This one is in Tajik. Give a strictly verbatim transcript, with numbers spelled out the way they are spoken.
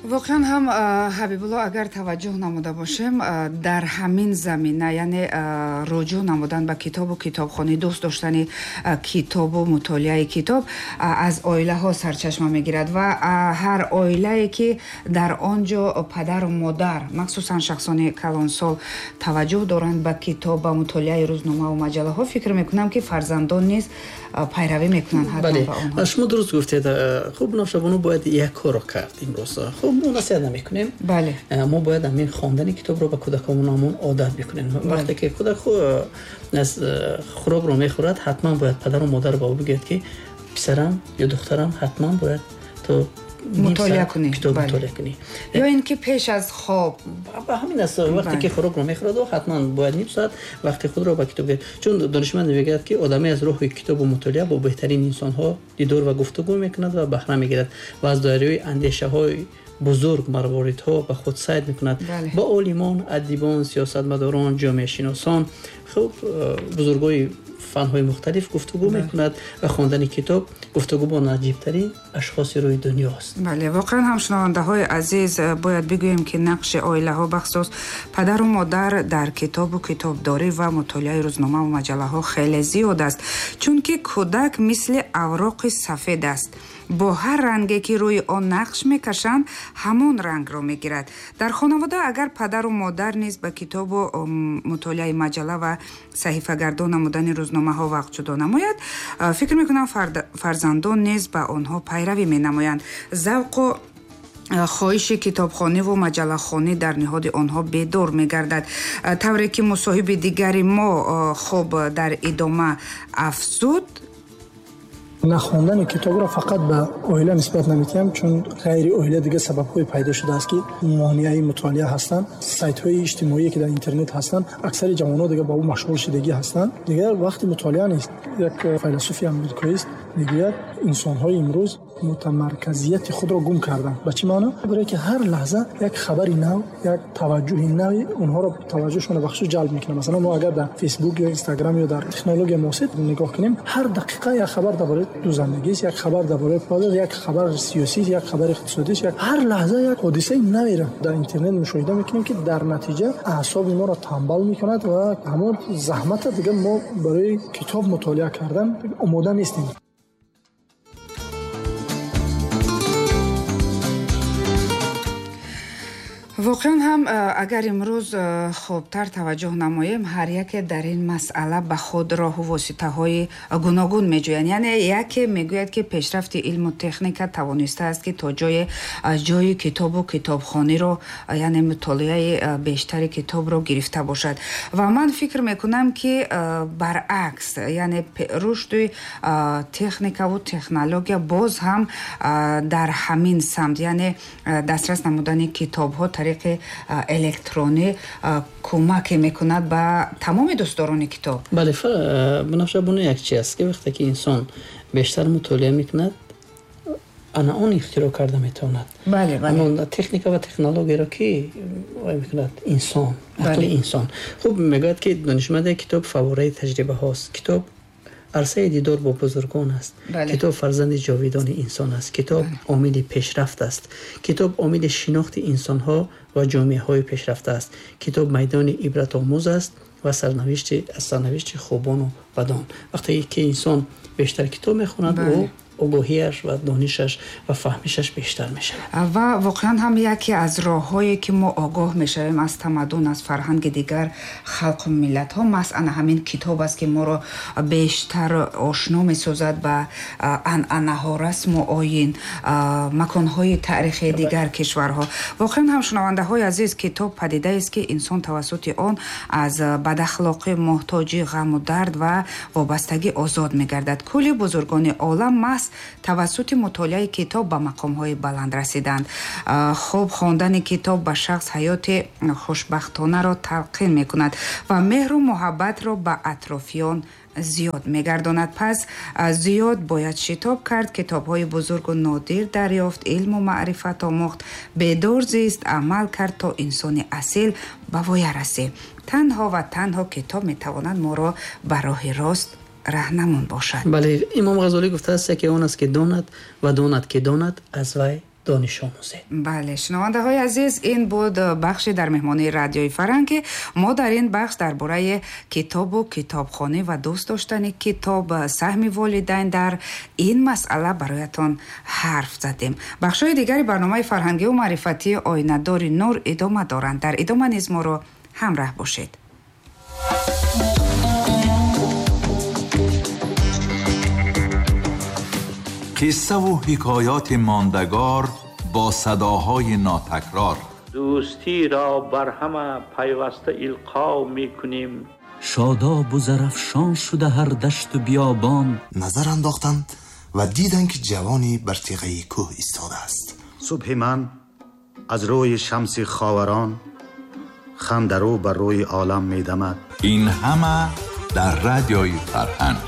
Воқеан ҳам, Ҳабибулло, агар таваҷҷӯҳ намуда бошем, дар ҳамин замина, яъне руҷӯъ намудан ба китобу китобхонӣ, дӯст доштани китобу мутолиаи китоб аз оилаҳо сарчашма мегирад ва ҳар оилае ки дар он ҷо падару модар, махсусан шахсони калонсол, таваҷҷӯҳ доранд ба китоб, ба мутолиаи рӯзномаву маҷаллаҳо, фикр мекунам ки фарзандон низ пайравӣ мекунанд ҳатман ба онҳо. Шумо дуруст гуфтед. Хуб, Навшабону, бояд як корро кард имрӯз. Хуб, мо насиҳат намекунем. Бале. Мо бояд ҳамин хондани китобро ба кӯдаконамон одат бикунем. Вақте ки кӯдак аз хӯрокро мехӯрад, ҳатман бояд падару модар ба ӯ бигӯяд ки писарам ё духтарам, ҳатман бояд ту мутолиа кунӣ, китоб мутолиа кунӣ. Ё ин ки пеш аз хоб. Ба ҳамин аст, вақте ки хӯрокро мехӯрад, ҳатман бояд ним соат вақти худро ба китоб диҳад. Чун донишманд мегӯяд ки одаме аз роҳи китобу мутолиа бо беҳтарин инсонҳо дидор ва гуфтугӯ мекунад ва баҳра мегирад ва аз доираи андешаҳои бузург марворидҳо ба худ сайд мекунад. Ба олимон, адибон, сиёсатмадорон, ҷомеашиносон, хуб, бузургои фанҳои мухталиф гуфтугӯ мекунад ва хондани китоб гуфтугӯ бо наҷибтарин ашхоси рӯи дунё аст. Бале, воқеан ҳам, шунавандаҳои азиз, бояд бигӯем ки нақши оилаҳо, бахусус падару модар, дар китобу китобдорӣ ва мутолиаи рӯзномаву маҷаллаҳо хеле зиёд аст, чунки кӯдак мисли авроқи сафед аст. Бо ҳар ранге ки рӯи он нақш мекашанд, ҳамон рангро мегирад. Дар хонавода агар падару модар низ ба китобу мутолиаи маҷалла ва саҳифагардон намудани рӯзномаҳо вақт ҷудо намояд, фикр мекунам фарзандон низ ба онҳо пайравӣ менамоянд. Завқу хоҳиши китобхониву маҷаллахонӣ дар ниҳоди онҳо бедор мегардад. Тавре ки мусоҳиби дигари мо хуб дар идома афзуд, нахондани китобро фақат ба оила нисбат намедиҳам, чун ғайри оила дигар сабабҳое пайдо шудааст ки монеаи мутолиа ҳастанд. Сайтҳои иҷтимоие ки дар интернет ҳастанд, аксари ҷавонҳо дигар ба ӯ машғул шудагӣ ҳастанд, дигар вақти мутолиа нест. Як файласуфи амрикоист мегӯяд, инсонҳои имрӯз мутамарказияти худро гум карданд. Ба чӣ маъно? Барое ки ҳар лаҳза як хабари нав, як таваҷҷӯҳи нави онҳоро, таваҷҷӯҳшонро ба хусус ҷалб мекунад. Масалан, мо агар дар Фейсбук ё Инстаграм ё дар технология муосир нигоҳ кунем, ҳар дақиқа як хабар дар бораи дузандагист, як хабар дар бораи пул, як хабар сиёсист, як хабари иқтисодист, як ҳар лаҳза як ҳодисаи навиро дар интернет мушоҳида мекунем ки дар натиҷа аъсоби моро танбал мекунад ва ҳамон заҳмата дигар мо барои китоб мутолиа кардан омода нестем. Воқеан ҳам, агар имрӯз хубтар таваҷҷӯҳ намоем, ҳар яке дар ин масъала ба худ роҳу воситаҳои гуногун меҷӯянд. Яъне яке мегӯяд ки пешрафти илму техника тавонистааст ки то ҷое ҷои китобу китобхониро, яъне мутолиаи бештари китобро гирифта бошад. Ва ман фикр мекунам ки баръакс, яъне рушди техникаву технология боз ҳам дар ҳамин самт, яъне дастрас намудани китобҳо тариқи электронӣ кӯмаке мекунад ба тамоми дӯстдорони китоб. Бале, Банафша, як чи аст ки вақте ки инсон бештар мутолиа мекунад, ана он ихтироъ карда метавонад. Бале, бале. Ҳамон техника ва технологияро ки мекунад инсон, ақли инсон. Хуб, мегӯяд ки донишманде китоб фаввораи таҷрибаҳост. Китоб арсаи дидор бо бузургон аст. Китоб фарзанди ҷовидони инсон аст. Китоб омили пешрафт аст. Китоб омили шинохти инсонҳо ва ҷомеаҳои пешрафта аст. Китоб майдони ибратомӯз аст ва сарнавишти аз сарнавишти хубону бадон. Вақте ки инсон бештар китоб мехонад, ӯ огоҳиаш ва донишаш ва фаҳмишаш бештар мешавад. Ва воқеан ҳам яке аз роҳҳое ки мо огоҳ мешавем аз тамаддун, аз фарҳанги дигар халқу миллатҳо, маҳз ана ҳамин китоб аст ки моро бештар ошно месозад ба анъанаҳо, расму оин, маконҳои таърихии дигар кишварҳо. Воқеан ҳам, шунавандаҳои азиз, китоб падидаест ки инсон тавассути он аз бадахлоқӣ, муҳтоҷӣ, ғаму дард ва вобастагӣ озод мегардад. Кулли бузургони олам маҳз тавассути мутолиаи китоб ба мақомҳои баланд расиданд. Хуб, хондани китоб ба шахс ҳаёти хушбахтонаро талқин мекунад ва меҳру муҳаббатро ба атрофиён зиёд мегардонад. Пас зиёд бояд шитоб кард, китобҳои бузургу нодир дарёфт, илму маърифат омӯхт, бедор зист, амал кард то инсони асил ба воя расӣ. Танҳо ва танҳо китоб метавонад моро ба роҳи рост раҳнамун бошад. Бале, Имом Ғазолӣ гуфтааст, яке он аст ки донад ва донад ки донад, аз вай дониш омӯзед. Бале, шунавандаҳои азиз, ин буд бахши дар меҳмонии радиои Фарҳанг, ки мо дар ин бахш дар бораи китобу китобхонӣ ва дӯст доштани китоб, саҳми волидайн дар ин масъала бароятон ҳарф задем. Бахшҳои дигари барномаи фарҳангию маърифатии Оинадори нур идома доранд. Дар идома низ моро ҳамраҳ бошед. Қиссаву ҳикоёти мондагор бо садоҳои нотакрор. Дӯстиро бар ҳама пайваста илқо мекунем. Шодобу зарафшон шуда ҳар дашту биёбон. Назар андохтанд ва диданд, ки ҷавоне бар теғаи кӯҳ истодааст. Субҳи ман аз рӯи шамси ховарон хандарӯ бар рӯи олам медамад. Ин ҳама дар радиои Фарҳанг.